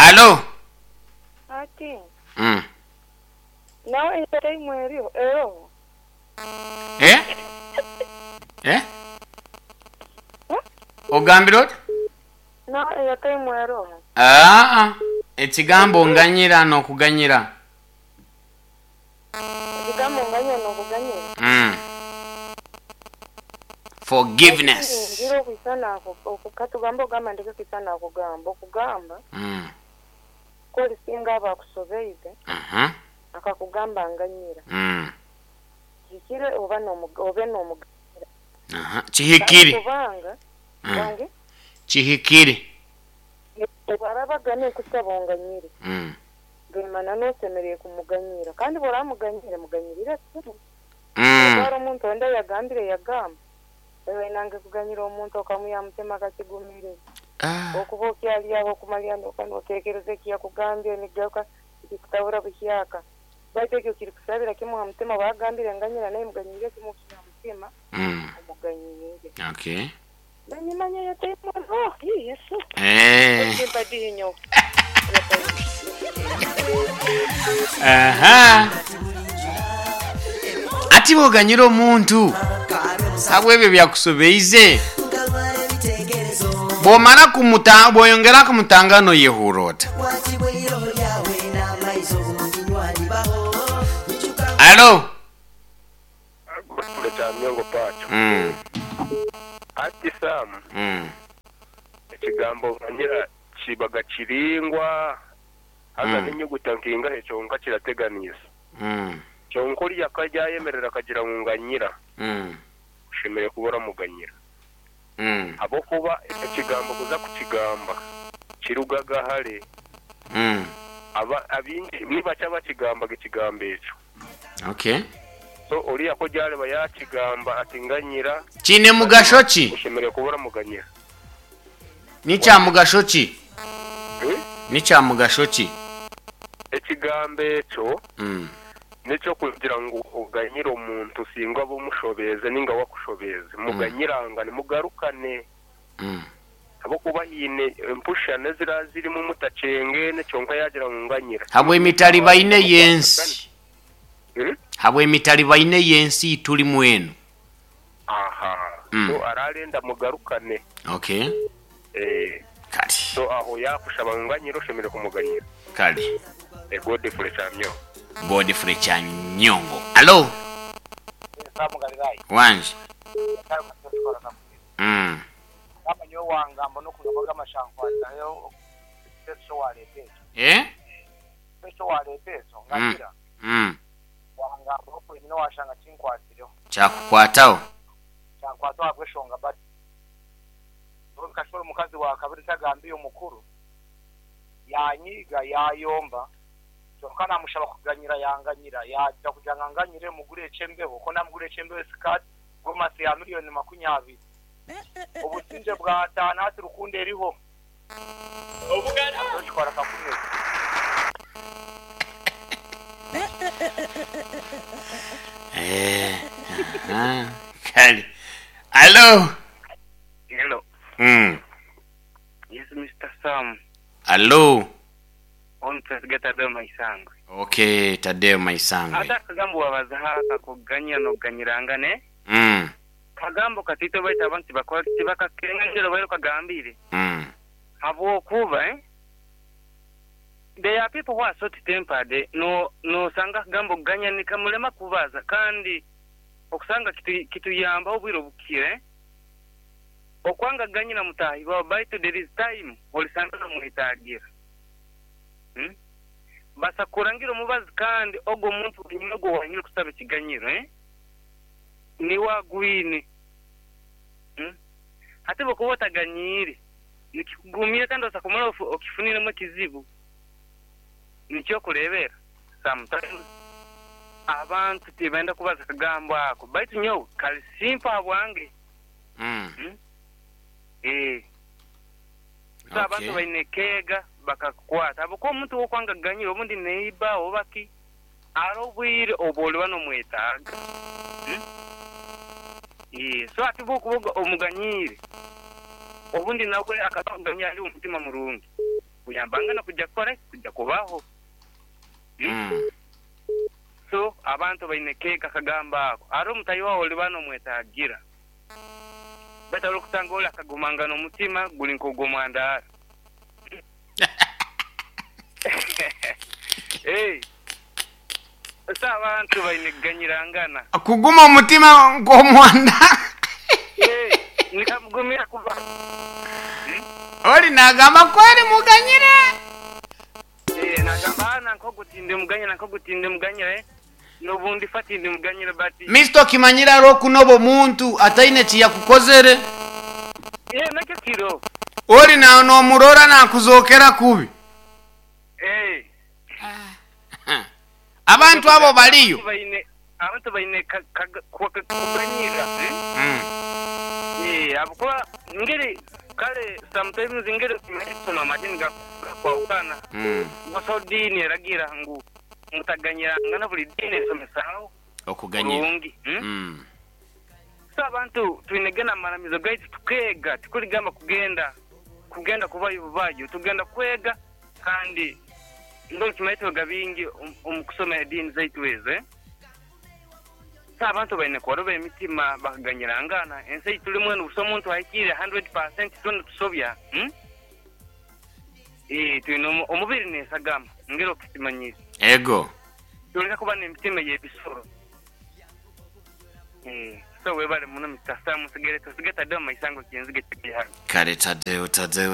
Alo. Ati, Mm. Nawe eyo eriho, eroho? Eh? Eh? Ogambire ota? Nawe eyo taimu eroho? Aa, ekigambo nganyira n'okuganyira. Ekigambo nganyira n'okuganyira. Forgiveness. Ngira okwisana ako, katugambe ogamba ndeke kwisana akugamba, okugamba ku olisinga aba akusobeize akakugamba nganyira. Kihikire oba obe n'omuganyira. Kihikire. Kubanga wange Kihikire. Bwaraba agambye nkusaba onganyire, gaimana n'osemereire kumuganyira. Kandi bw'oramuganyire, muganyirire kimwe. Hariho omuntu ondi ayagambire yagamba, iwe nange kuganyira omuntu okamwiha aha mutima kakigumire. Okuba okyari aho okumalira noka notekereza eki yakugambire nikigaruka nikikutabura buhyaka. Baitu ekyo kirikusabira kimwe aha mutima obu agambire nganyira nawe muganyirire kimwe okwiha aha mutima omuganyiire. Okay. Nanyimanya yataimwe oh hii Yesu. Eh. Ekimpa dihi nyowe. Aha. Ati bwoganyira omuntu habw'ebyo byakusobeize, bwomara kumuta bwoyongera kumutangana oyehurra ota? Alo. Godfrey Kyamyongo Pacho. Ati Sam, ekigambo nganyira kibaga kiringwa haza n'enyuguta nkingahe kyonka kirateganiisa. Kyonka oriya ku aryayemerera akagira ngu nganyira, oshemereire kuba oramuganyira. Ahabw'okuba ekyo kigambo kuza kukigamba kirugaga hare. Abaingi ni bakye abakigambaga ekigambo ekyo. Okay. So oriya ku oryareba yakigamba ati nganyira, Kiine mugasho ki? Oshemereire kuba oramuganyira. Ni kya mugasho ki? Ni kya mugasho ki? Ekigambo ekyo n'eky'okugira ngu oganyire omuntu singa oba omushobeeze nainga we akushobeeze. Muganyirangane, mugarukane. Ahabw'okuba haine empushane eziraba zirimu mutakyengene kyonka yaagira ngu nganyira. Habw'emitalibaine y'ensi. Habw'emitalibaine y'ensi ei turimu enu. Aha. So ararenda mugarukane. Okay. Eeh. Kale. So aho yakushaba ngu nganyira oshemereire kumuganyira. Kale. Eh Godfrey Kyamyongo. Godfrey Kyanyongo. Allo. Sam Galilaya. Wangi. Nyasaye omusibe tukora kakumire. Gamba nyowe wangamba n'okugamba g'amashankwatayo ekiteeso wareeta ekyo. Eh? Ekiteeso wareeta ekyo nganyira. Wangamba oku nyine washanga kinkwasireho. Kyakukwataho? Kyankwataho ahabw'eshonga but nyowe nkashwera omukazi wa kabiri ntagambiire omukuru, yanyiiga yayomba kyonka namushaba kuganyira yanganyira yagira kugira ngu anganyire mugure eky'embeho ku namuguriire eky'embeho esikati gomasi ya miriyoni makunyabiri obusingye bwataana hati rukundo eriho. Okikora kakumire. Eh, aha, kale. Allo? Hello. Yes, Mister Sam. Allo? On Twesiga Tadeo Maisangwe. Okay, Tadeo Maisangwe. Ate akagambo wabazaho ak'okuganyira n'okuganyirangana, eh? Kagambo kataito baitu abantu tibakora ki? Tibakakenga nikyo obaire okagambire. Habwokuba eh, there are people who are short tempered no nosanga akagambo okuganya nikamurema kubaza kandi okusanga kitu kituyambaho obwire obukire eh, okwanga kuganyira mutaahi wawe baitu there is time orisanga nomwetagira hmm, basa kurangira omubazi kandi ogwo omuntu wenyini ogwo owanyine kusaba ekiganyiro eh. Niiwe agwine. Hati bw'okuba otaganyiire, nikikugumira kandi osa kumara okifuniremu ekizibu. Nikyo okureebera sometimes abantu tibenda kubaza akagambo ako baitu nyowe kari simple ahabwange. Eeh. So abantu baine keega bakakukwata ahabw'okuba omuntu ou okwanga kuganyira obundi neighbour oba ki. Hariho obwire obu oriba nomwetaaga. So hati obu orikuba omuganyiire, obundi nawe akaba akuganyira ari omu mutima murungi. Kuyambangana kuja kukora ki? Kuja kubaho. So abantu baine keega akagambo ako. Hariho omutahi waawe oriba nomwetaagira. Beitu hariho orikusanga ori akagumangana omutima guri nk'ogw'omwandaara. Hey. So abantu baine kuganyirangana. Kuguma omutima nk'omwandaara. Hey, nikamugumira kuba. Ori nagamba ku ori muganyire. Eh, nagamba ah, nanka ogu tindimuganyira, nanka ogu tindimuganyira, eh, n'obu ndifa tindimuganyira but. Mister okimanyire hariho okunoba omuntu ataine kiyakukozere. Eh, nakyo kiro. Ori na nomurora nakuzokera kubi. Eh. Abantu abo bariyo. Abantu baine kuganyira. Ahabw'okuba ngeri kare sometimes ngeri okimanyi tusoma amadiini gakwahukana busaho diini eragira ngu mutaganyirangana buri diini esomesa Okuganyira. kurungi. So abantu twine gana amaramizo gaitu tukeega tikurigamba kugenda kugenda kubayo bubayo tugenda kwega Kandi mbwenu tumanye twega bingi omu kushoma ediini zaitu ezo. So abantu baine kworoba emitima bakaganyirangana. Ensi ei turimu enu busaho muntu ahikiire hundred percent twena tusobya. Eeh twine omubiri n'esagama ngeri okukimanyire. Ego. Tuleke kuba n'emitima ey'ebisoro. Eeh so webale muno Mister Sam nsigaire tusiga Tadeo Maisango Kyenzige Kyegiharo. Kare Tadeo Tadeo.